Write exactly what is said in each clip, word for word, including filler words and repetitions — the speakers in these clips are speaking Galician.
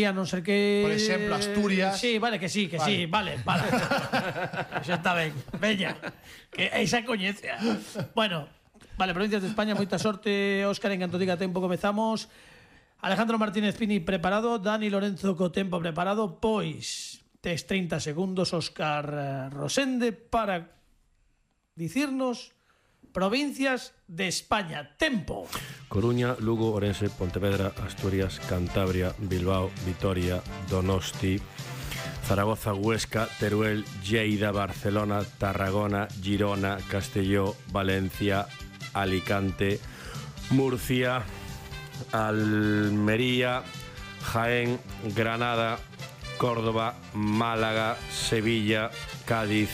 a non ser que... Por exemplo, Asturias. Sí, vale, que sí, que sí, vale, vale. Xa está ben, veña, que esa coñece. Bueno, vale, provincias de España, moita sorte, Óscar, en canto diga tempo comezamos. Alejandro Martínez Pini preparado, Dani Lorenzo co tempo preparado, pois tes trinta segundos, Óscar Rosende, para dicirnos provincias de España. Tempo. Coruña, Lugo, Orense, Pontevedra, Asturias, Cantabria, Bilbao, Vitoria, Donosti, Zaragoza, Huesca, Teruel, Lleida, Barcelona, Tarragona, Girona, Castelló, Valencia, Alicante, Murcia, Almería, Jaén, Granada, Córdoba, Málaga, Sevilla, Cádiz,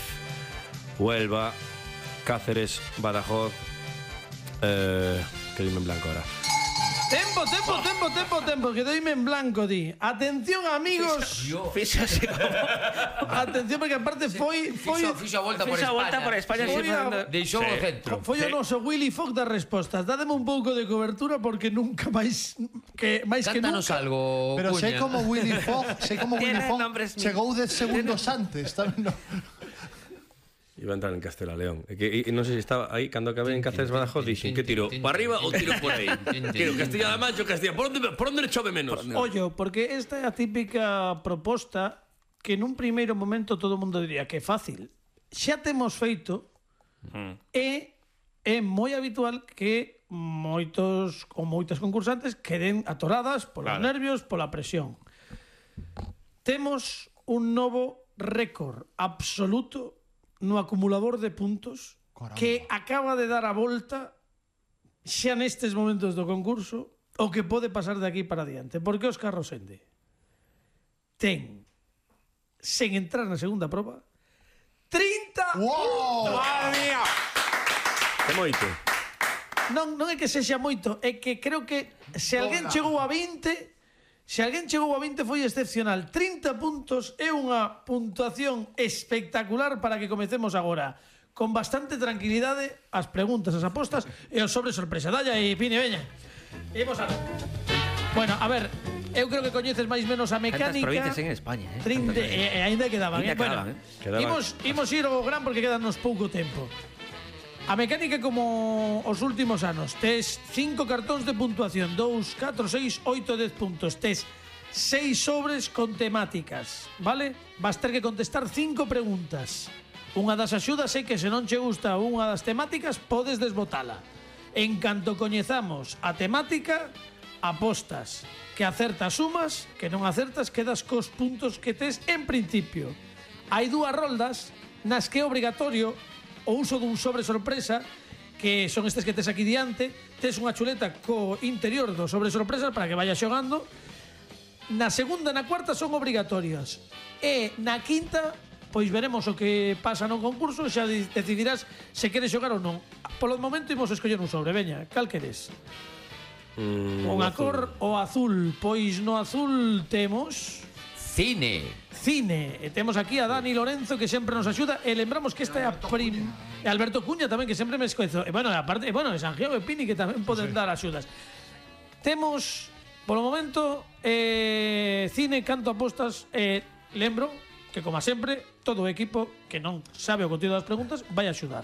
Huelva, Cáceres, Badajoz, eh, que dime en blanco ahora. Tempo, tempo, tempo, tempo, tempo, que doime en blanco, di. Atención, amigos. Fíxase como... Atención, porque aparte foi... foi Fixo a volta por Fixo a volta España. por España. Foi a- Deixou o centro. Foi o noso Willy Fogg das respostas. Dádeme un pouco de cobertura porque nunca máis que máis que Cántanos nunca. algo, Pero sei Cuña. como Willy Fogg, sei como Willy Tiene Fogg nombres- chegou dez segundos antes, tamén no. Iba a entrar en Castela León. E que, e, non sei se estaba aí, cando acabei en Cáceres Badajoz, dixen, que tiro? Para arriba ou tiro por aí? Tiro Castilla-La Mancha ou Castilla? Por onde, por onde le chove menos? Ollo, porque esta é a típica proposta que nun primeiro momento todo o mundo diría que é fácil. Xa temos feito e é moi habitual que moitos ou moitas concursantes queden atoradas polos Claro. nervios, pola presión. Temos un novo récord absoluto no acumulador de puntos. Caramba. Que acaba de dar a volta xa nestes momentos do concurso o que pode pasar de aquí para adiante. Porque Óscar Rosende ten, sen entrar na segunda proba, trinta Wow! ¡Madre mía! Que moito. Non, non é que sexa moito, é que creo que se alguén chegou a vinte, se alguén chegou a vinte foi excepcional. trinta puntos é unha puntuación espectacular para que comecemos agora con bastante tranquilidade as preguntas, as apostas e os sobre sorpresa. Dalla e Pini, veña. Imos a ver. Bueno, a ver, eu creo que coñeces máis menos a Tantas mecánica. provincias en España, eh? trinta, Tantas e, e ainda quedaban, Ainda eh? Bueno, quedaban, eh? Quedaban. imos, imos ir ao gran porque quedanos pouco tempo. A mecánica como os últimos anos. Tes cinco cartóns de puntuación, dous, catro, seis, oito, dez puntos. Tes seis sobres con temáticas, vale? Vas ter que contestar cinco preguntas. Unha das axudas é que se non che gusta unha das temáticas, podes desbotala. En canto coñezamos a temática, apostas. Que acertas sumas, que non acertas quedas cos puntos que tes en principio. Hai dúas roldas nas que é obrigatorio o uso dun sobre sorpresa, que son estes que tes aquí diante. Tes unha chuleta co interior do sobre sorpresa para que vayas xogando. Na segunda e na cuarta son obrigatorias. E na quinta, pois veremos o que pasa no concurso, xa decidirás se queres xogar ou non. Polo momento imos escoller un sobre, veña, cal queres? Mm, Unha azul. cor o azul. Pois no azul temos Cine. cine. E temos aquí a Dani Lorenzo que sempre nos axuda. E lembramos que esta é a prim... E Alberto Cuña tamén, que sempre me escoezo. E bueno, aparte, e bueno, e Santiago e Pini que tamén poden dar axudas. Temos, polo momento, eh, cine, canto, apostas. E lembro que, como sempre, todo o equipo que non sabe o contido das preguntas vai axudar.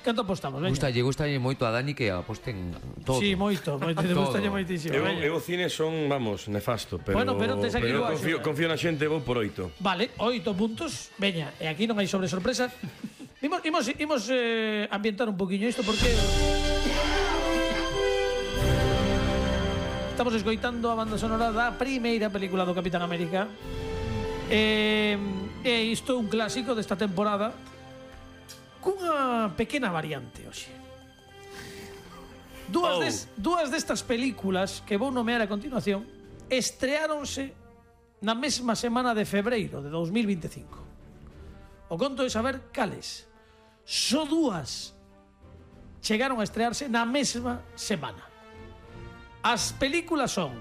Canto apostamos, veña? Gustalle, gustalle moito a Dani que aposten todo. Sí, moito, moito, Todo. gustalle moitísimo. Eu, veña. eu cine son, vamos, nefasto, pero, Bueno, pero tes aquí pero boa confío, axuda. confío na xente, vou por oito. Vale, oito puntos. Veña, e aquí non hai sobre sorpresa. Imos, imos, imos eh, ambientar un poquinho isto porque estamos escoitando a banda sonora da primeira película do Capitán América. E, e isto é un clásico desta temporada cunha pequena variante hoxe. Dúas, Oh. des, dúas destas películas que vou nomear a continuación estreáronse na mesma semana de febreiro de dos mil vinte e cinco. O conto é saber cales. Só dúas chegaron a estrearse na mesma semana. As películas son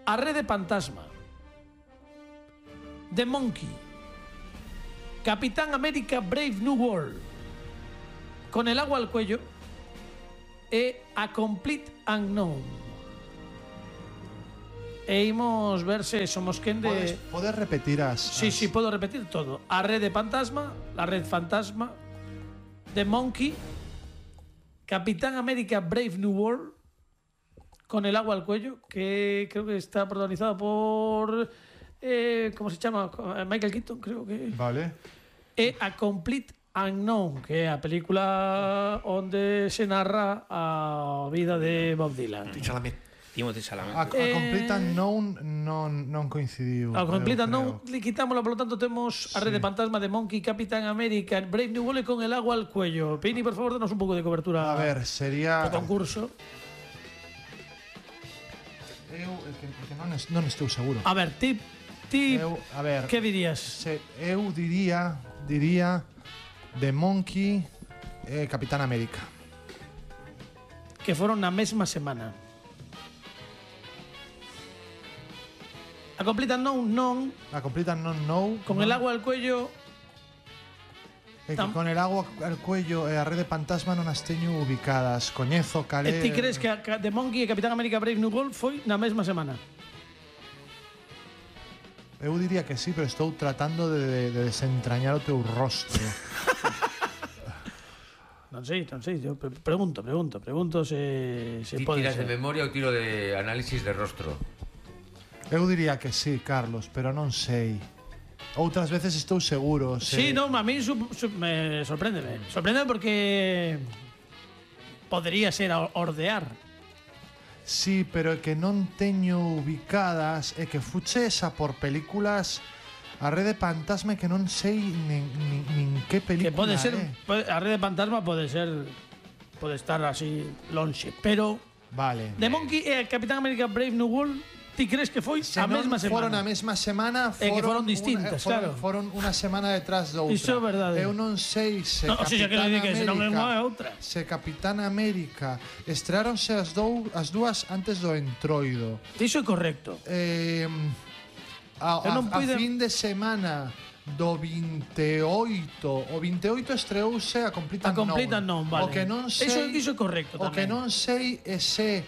A Rede Fantasma, The Monkey, Capitán América Brave New World, Con el agua al cuello e A Complete Unknown. e imos ver se somos quen Podes, de... podes repetir as... Sí, as- sí, podo repetir todo. A Red de Fantasma, la Red Fantasma, The Monkey, Capitán América Brave New World, Con el agua al cuello, que creo que está protagonizado por... Eh, ¿Cómo se llama? Michael Keaton, creo que... Vale. E A Complete Unknown, que é a película onde se narra a vida de Bob Dylan. Chalamet. Timothy Chalamet. A, a Eh, Complete Unknown non, non coincidiu. A Complete eu Unknown, creo. le quitámoslo, por lo tanto temos a Red de Fantasma de Monkey, Capitán América, Brave New World Con el agua al cuello. Pini, por favor, danos un pouco de cobertura A ver, sería... ao concurso. Eu, é que, é que non, es, non estou seguro. A ver, ti, ti Eu, a ver, que dirías? se, eu diría, diría The Monkey e Capitán América. Que foron na mesma semana. A Complete Unknown non, A Complete Unknown no. Con non. el agua al cuello... É que tam- con el agua al cuello e a Red de Fantasma non as teño ubicadas. Coñezo, E calé... ti crees que a que The Monkey e Capitán América Brave New World foi na mesma semana? Eu diría que sí, pero estou tratando de, de desentrañar o teu rostro. Non sei, non sei, yo pre- pregunto, pregunto, pregunto se, se Ti pode tiras ser. de memoria ou tiro de análisis de rostro? Eu diría que sí, Carlos, pero non sei. Outras veces estou seguro. Se... Sí, non, a mí su, su, me sorprende, sorprende porque podría ser a ordear. Sí, pero é que non teño ubicadas e que fuchesa por películas a Red de Fantasma que non sei nin, nin, nin que película Que pode ser, é. pode- a Red de Fantasma pode ser, pode estar así lonxe, pero Vale. The Monkey e Capitán América Brave New World, ti crees que foi Se a non mesma semana? foron a mesma semana, É que foron una- distintas, foron, claro. Foron unha semana detrás de outra. Iso é verdade. Eu non sei se No, o sea, que non Capitán di que se non é América, unha é outra. se Capitán América estreáronse as, dou, as dúas antes do entroido. Iso é correcto. Eh, a, Eu non a, a puide- fin de semana do veintioito, o veintioito estreouse a Complete A Unknown. Complete Unknown, vale. O que non sei, Iso, iso é correcto o que tamén. non sei é se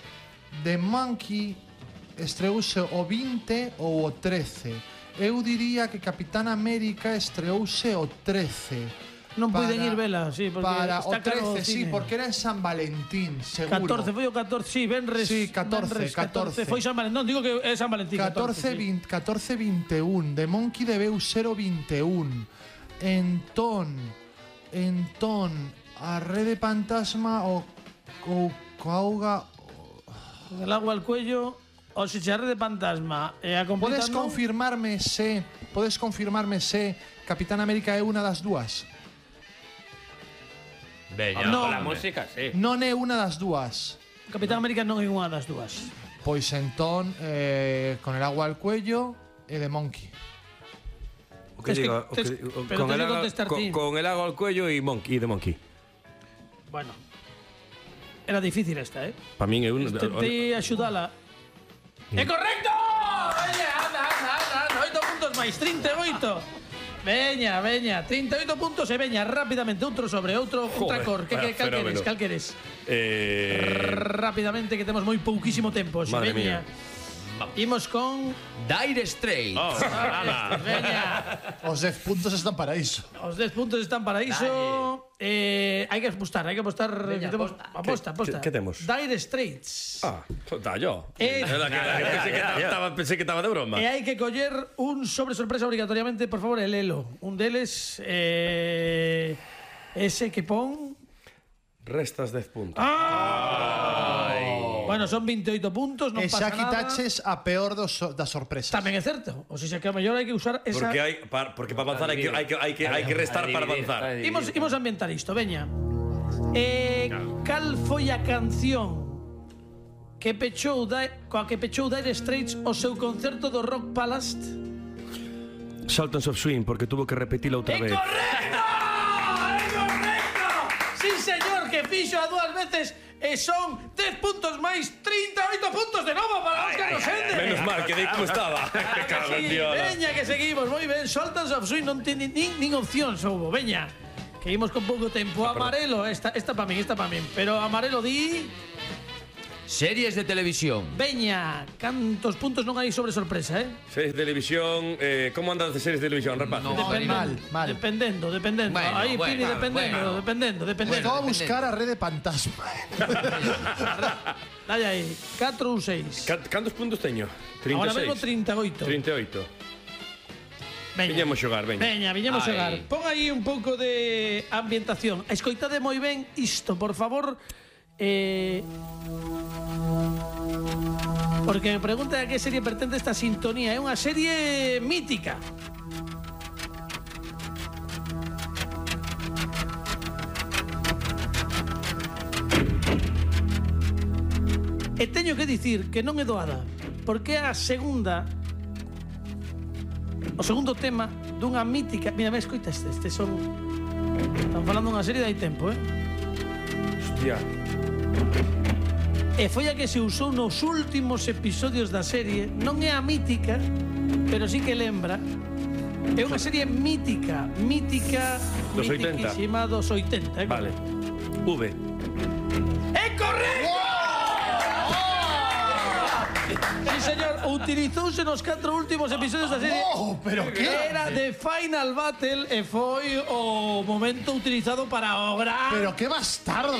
The Monkey estreouse o vinte ou o trece. Eu diría que Capitán América estreouse o trece. Non puiden Para- ir vela, sí, porque Para está o caro o trece, sí, cine. porque era en San Valentín, seguro. catorce, foi o catorce, sí, Benres. Sí, catorce, Benres, catorce. Foi San Valentín, non, digo que é San Valentín, catorce, catorce, sí. veinte, catorce veintiuno. The Monkey debeu ser o veintiuno. Entón, entón, a Red de Fantasma o o coauga. Con el agua al cuello, o se xa Red de Fantasma e a Complete Podes Unknown, confirmarme se, podes confirmarme se Capitán América é unha das dúas? Veña, No. con la música, sí. Non é unha das dúas. Capitán América non é unha das dúas. Pois entón, eh, con el agua al cuello e The Monkey. O que Tes que- diga, o que tes- diga- pero con tes el que agua- contestar con- ti. con el agua al cuello y Monkey, de Monkey. Bueno. Era difícil esta, eh? Para min é un Tentei axudala. É correcto! Veña, anda, anda, anda, anda. oito puntos máis, trinta e oito. Veña, veña, trinta e oito puntos e veña rápidamente outro sobre outro Joder, contracor. Que, que, vaya cal fenómeno. queres, cal queres? Eh, Rápidamente que temos moi pouquísimo tempo. xe, Madre veña. Imos con... Dire Straits. oh, ala. Veña. Os dez puntos están para iso. Os dez puntos están para iso. Eh, hai que apostar, hai que apostar. Veña, que temos- aposta. aposta, aposta. Que- que temos? Dire Straits. Ah, está yo. Eh, Era que- era que pensé que estaba, pensé que estaba de broma. E hai que coller un sobre sorpresa obrigatoriamente, por favor, el Elo. Un deles, eh, ese que pon... Restas dez puntos. Bueno, son veintioito puntos, non E pasa xa nada. quitaches a peor dos, das sorpresas. Tamén é certo. O sea, que a mellor hai que usar esa... Porque hai par, porque para avanzar hai que hai que hai que hai que restar para avanzar. Imos, imos ambientar isto, veña. Eh, cal foi a canción que pechou da, coa que pechou Dire Straits o seu concerto do Rock Palace? Sultans of Swing porque tuvo que repetilo outra ¡É vez. correcto! ¡É correcto! Sí, señor, que fixo a dúas veces e son dez puntos máis trinta e oito puntos de novo para Óscar Rosende. Menos mal que dei como estaba. Cago en Sí, Dios. veña, que seguimos, moi ben. Sultans of Swing non ten nin, nin opción, soubo. Veña, que imos con pouco tempo. Amarelo, esta, esta pa min, esta pa min. Pero Amarelo di... Series de televisión. Veña, cantos puntos non hai sobre sorpresa, eh? Series de televisión, eh, como andas de series de televisión, rapaz? No. mal, mal. Dependendo, dependendo. Bueno, Aí, bueno, Pini, dependendo, bueno. dependendo, dependendo. Vou a buscar a rede fantasma. Dai aí, catro ou seis. Ca- Cantos puntos teño? trinta e seis. Ahora mesmo trinta e oito. trinta e oito. Veña. Viñemos xogar, veña. Veña, viñemos Ai. xogar. Pon aí un pouco de ambientación. Escoitade moi ben isto, por favor. Eh... Porque me pregunta a que serie pertence esta sintonía. É unha serie mítica. E teño que dicir que non é doada, porque é a segunda o segundo tema dunha mítica... Mira, me escoita este, este son... Están falando dunha serie de hai tempo, eh? Hostia. E foi a que se usou nos últimos episodios da serie. Non é a mítica, pero sí que lembra. É unha serie mítica, mítica, Dos oitenta. mitiquísima dos oitenta. Eh? Vale. V. ¡É correcto! Sí, señor, utilizouse nos catro últimos episodios da serie. Oh, pero que? Era The Final Battle e foi o momento utilizado para o gran... Pero que bastardo.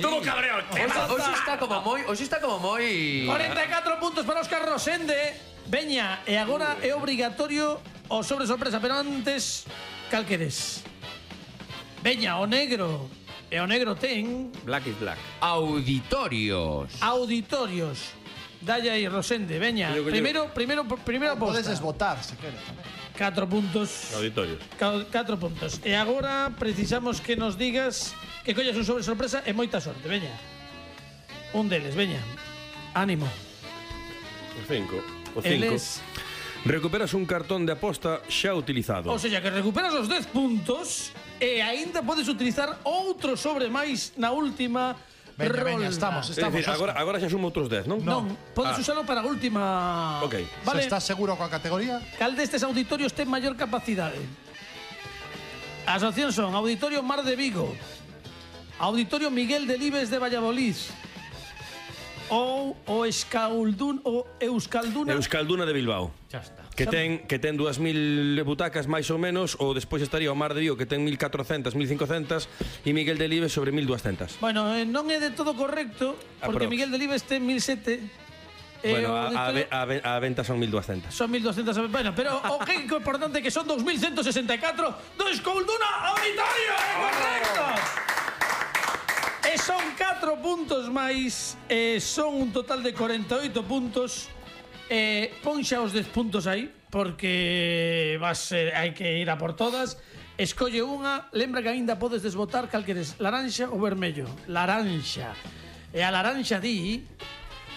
Todo cabreado. Hoxe está como moi, hoxe está como moi cuarenta e catro puntos para Óscar Rosende. Veña, e agora é obrigatorio o sobre sorpresa, pero antes, cal queres? Veña, o negro. E o negro ten Black is black. auditorios. auditorios. Dalle aí, Rosende, veña. Coño, coño. Primeiro, primeiro, primeira Podes aposta. desbotar, se queres. Catro puntos. Auditorios. Ca- Catro puntos. E agora precisamos que nos digas que collas un sobre sorpresa e moita sorte, veña. Un deles, veña. Ánimo. O cinco. O cinco. Eles... Recuperas un cartón de aposta xa utilizado. O sea, que recuperas os dez puntos e aínda podes utilizar outro sobre máis na última Veña, rolda. veña, estamos, É estamos. dicir, agora, agora xa sumo outros dez, non? Non, podes Ah. usalo para a última... Ok. Vale, Se estás seguro coa categoría? cal destes auditorios ten maior capacidade? As opcións son Auditorio Mar de Vigo, Auditorio Miguel Delibes de Valladolid ou o Escaldun o Euskalduna. Euskalduna de Bilbao. Xa está. Que ten, que ten dúas mil butacas máis ou menos, ou despois estaría o Mar de Vigo que ten mil catrocentas, mil cincocentas e Miguel Delibes sobre mil duascentas. Bueno, eh, non é de todo correcto, porque Aprox. Miguel Delibes ten mil sete. Bueno, a, a, ve- a, ve- a venta son mil duascentas. Son mil doscientos. Bueno, pero o que é importante que son dos mil ciento sesenta e catro do Escolduna Auditorio, é correcto. E son catro puntos máis, e son un total de cuarenta e oito puntos. E pon xa os dez puntos aí, porque vas, eh, hai que ir a por todas. Escolle unha, lembra que aínda podes desbotar cal queres, laranxa ou vermello. Laranxa. E a laranxa di...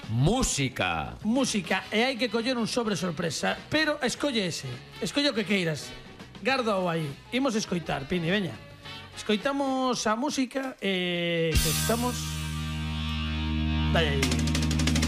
Música. música e hai que coller un sobre sorpresa, pero escolle ese, escolle o que queiras, garda o aí. Imos escoitar, Pini, veña. Escoitamos a música e que estamos... Dai aí.